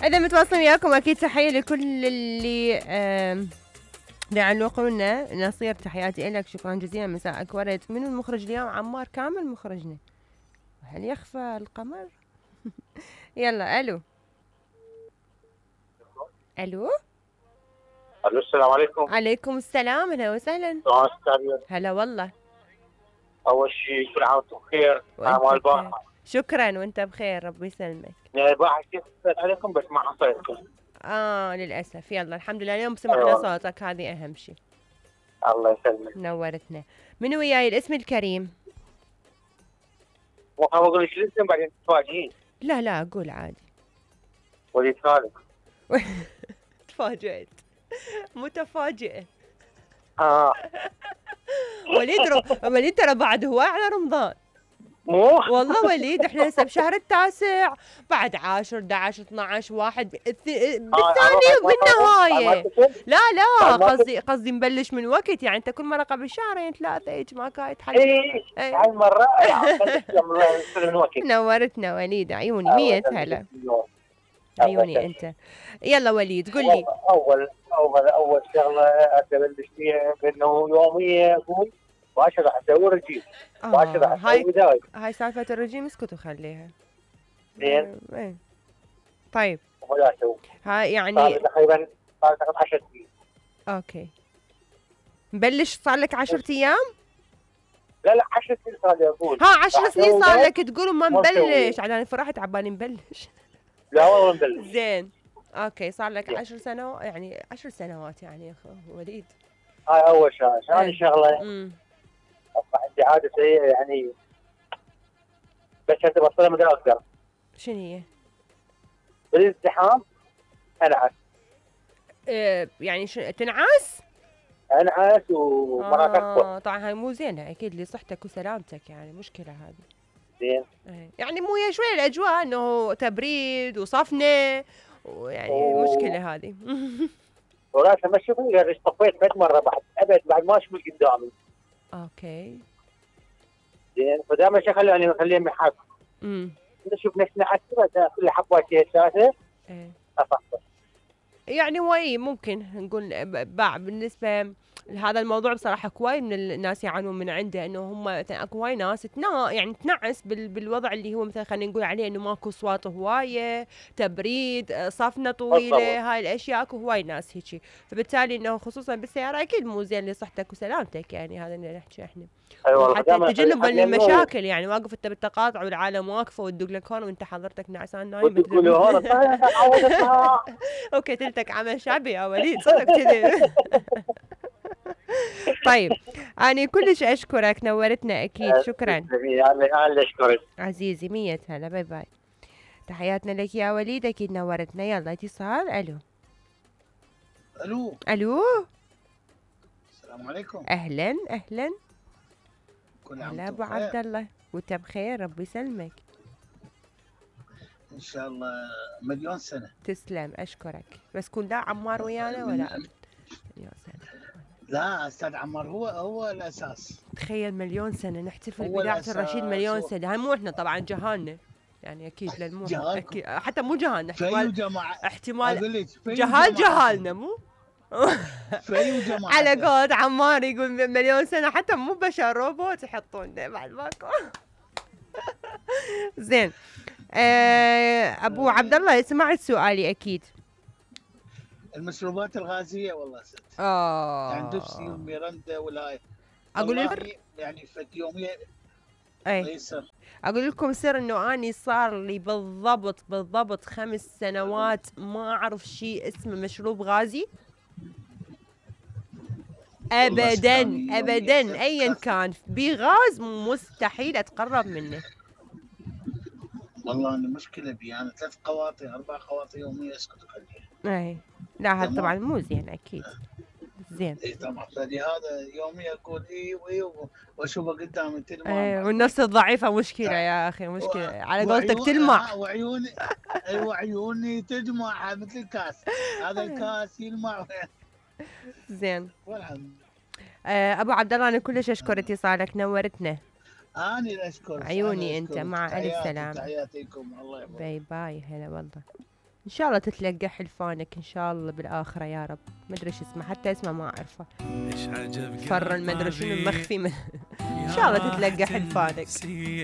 إذا متواصلين وياكم أكيد تحية لكل اللي يعلقوا لنا. نصير تحياتي لك، شكرا جزيلا، مساءك ورد. من المخرج اليوم؟ عمار كامل مخرجنا. هل يخفى القمر؟ يلا ألو. الو السلام عليكم. عليكم السلام، اهلا وسهلا. هلا والله. اول شيء كل عام وانتم بخير. عام البارحه. شكرا وانت بخير، ربي يسلمك. يعني البارحه كيف اتصلت عليكم بس ما حصلتكم. للاسف. يلا الحمد لله اليوم سمعنا صوتك، هذه اهم شيء. الله يسلمك. نورتنا. من وياي الاسم الكريم؟ ما اقول لك الاسم بعدين تتفاجئين. لا قول عادي. وليد خالد. تفاجئت. متفاجئة. وليد ترى بعد هواي على رمضان. مو والله وليد احنا هسه بشهر التاسع، بعد 10 11 12 1 بالثاني وبالنهاية. لا قصدي نبلش من وقت، يعني انت كل مرة قبل شهرين 3 هيك ما كانت حل. هاي المرة من وقت. نورتنا وليد، عيوني 100 هلا. عيوني انت. يلا وليد قل لي. اول شغله ابلش فيها بانه يوميه اقول واش راح اسوي رجيم، واش راح اسوي دايت. هاي سالفه الرجيم اسكت وخليها. زين. طيب. ولا اسوي. هاي يعني تقريبا صار 10 سنين. اوكي. مبلش صار لك 10 ايام؟ لا 10 سنين صار لي اقول. 10 سنين صار لك تقول وما مبلش، على فرحت عبالي مبلش. لا والله مبلش. زين. اوكي صار لك 10 سنوات، يعني 10 سنوات يعني يا اخو وليد. هاي اول شغله. ثاني شغله عندي عاده سيئه يعني بس ابطلها ما اقدر. شنو هي؟ بالازدحام انعس. يعني تنعس؟ انعس ومرات اكبر. طبعا هاي مو زينه اكيد لصحتك وسلامتك، يعني مشكله هذه. زين. يعني مو هي شويه الاجواء انه تبريد وصفنه ويعني مشكله هذه. وراسا ما اشوفني غير طفيت 3 مرة بعد ما اشوف قدامي. اوكي. زين فدائما خليهم محك. نشوف نفسنا حتى كل حبات ثلاثة. افكر. يعني هو ممكن نقول بالنسبه لهذا الموضوع بصراحه هواي من الناس يعانون من عنده، انه هم مثلا اكو هواي ناس يعني تنعس بالوضع اللي هو مثلا خلينا نقول عليه انه ماكو اصوات هوايه، تبريد، صفنه طويله، هاي الاشياء اكو هواي ناس هيك، فبالتالي انه خصوصا بالسياره اكيد مو زين لصحتك وسلامتك، يعني هذا اللي نحكي احنا. أيوة حتى تجنبا للمشاكل، يعني واقف انت بالتقاطع والعالم واقفه وتدق لك هون وانت حضرتك نعسان نايم. تقول هون اوكي تلتك عمل شعبي يا وليد صدق كذي. طيب أنا كلش أشكرك، نورتنا أكيد. شكرا. أنا أشكرك عزيزي 100 هلا. باي باي. تحياتنا لك يا وليد، أكيد نورتنا. يلا اتصال. ألو. السلام عليكم. أهلا. كل عام هلا أبو عبد الله وأنت بخير، ربي يسلمك إن شاء الله. مليون سنة. تسلم أشكرك. بس كون لا عمار ويانا ولا مليون سنة. لا أستاذ عمار هو الأساس. تخيل مليون سنة نحتفل بإذاعة الرشيد مليون سنة. هاي مو إحنا طبعا جهالنا، يعني أكيد للمو أكيد حتى مو جهالنا، احتمال جهالنا مو على قول عمار يقول مليون سنة، حتى مو بشر روبوت يحطون بعد ماكو. زين. أبو عبد الله سمعت سؤالي أكيد. المشروبات الغازية والله ست. يعني دبسي وميرندا ولا أقول لك يعني فد يومية. أقول لكم سر إنه أني صار لي بالضبط 5 سنوات ما أعرف شيء اسمه مشروب غازي أبدا أيا كان بغاز مستحيل أتقرب منه. والله أنا مشكلة بي، أنا 3 قواطي 4 قواطي يومية اسكت وخليها. لا هذا طبعا مو زين أكيد. زين. طبعا فلهذا يوميا اقول واشوفه قدامي تلمع. والنفس الضعيفه مشكله يا اخي، مشكله على قولتك تلمع. وعيوني تدمع مثل الكاس، هذا الكاس يلمع. زين. ابو عبد الله انا كلش اشكر اتصالك، نورتنا. انا اللي اشكرك. عيوني انت، مع الف سلامه. تحياتكم الله يبارك. باي باي. هلا والله. ان شاء الله تتلقى حلفانك ان شاء الله بالاخره يا رب. ما ادري شو اسمه، حتى اسمه ما اعرفه، فر ما ادري شنو المخفي ان شاء الله تتلقى حلفانك.